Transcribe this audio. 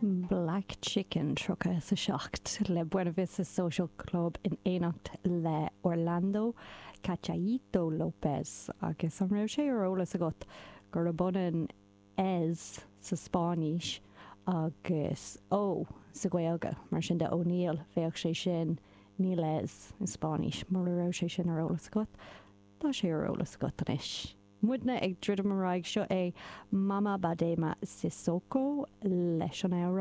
Black Chicken 37 le Buena Vista Social Club in éineacht le Orlando Cachaíto López. Agus an raibh sé ar eolas agat gurb ionann ez sa Spáinnis agus Ó sa Ghaeilge? Mar sin de O'Neill, bheadh sé sin níl ez i Spáinnis. Mura raibh sé sin ar eolas agat, tá sé ar eolas agat anois. Muidne ag druidim ar aghaidh, seo é Mama Badema Sissoko leis an amhrán.